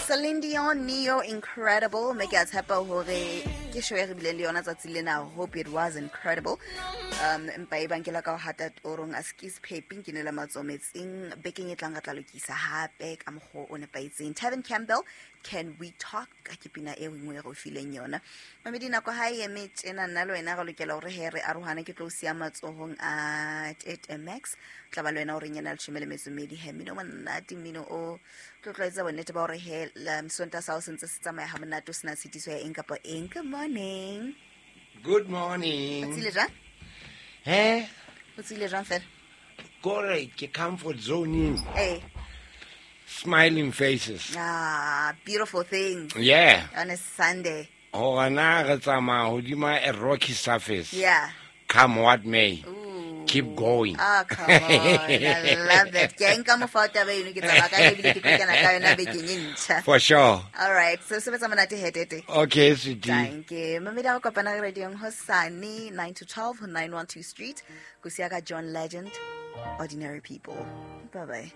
Celine Dion, Neo, incredible. Mme ke a tshepa hore ke show e re bileng le yona tsatsi lena. Hope it was incredible. Empa e bang ke la ka ho hata torong a skis pheping ke nele matsometseng bekeng e tlang re tla lokisa hape ka mokgwa o nepahetseng. Tevin Campbell, Can We Talk? Ke pina e nngwe e re o fileng yona. Mamedi, nako ha e eme tjena, nna le wena re lokela hore he re arohane. Ke tlo o siya matsohong a Tete Max, tla ba le wena o reng yena 12. He mmino o monate, mmino o tlo tlwaetsa bonnete ba hore he Sontaha sa hao se ntse se tsamaya ha monate, o sena tshitiso ya eng kapa eng. Good morning. Good morning. O tsile jwang? He? O tsile jwang fela? Kore ke comfort zone. Eh. Smiling faces. Ah, beautiful thing. Yeah. On a Sunday. Hore na re tsamaya hodima a rocky surface. Yeah. Come what may. Ooh. Keep going. Ah, come on. I love it. Ke a nka mofa o taba eno, ke tsamaya ka ebile ke tlo kena ka yona bekeng e ntjha. For sure. All right. So sebetsa monate he, Tete. Okay, sweetie. Thank you. Mamedi, ha re kopana radiong hosane 9 to 12 ho 912 Street. Ko siya ka John Legend, Ordinary People. Bye-bye.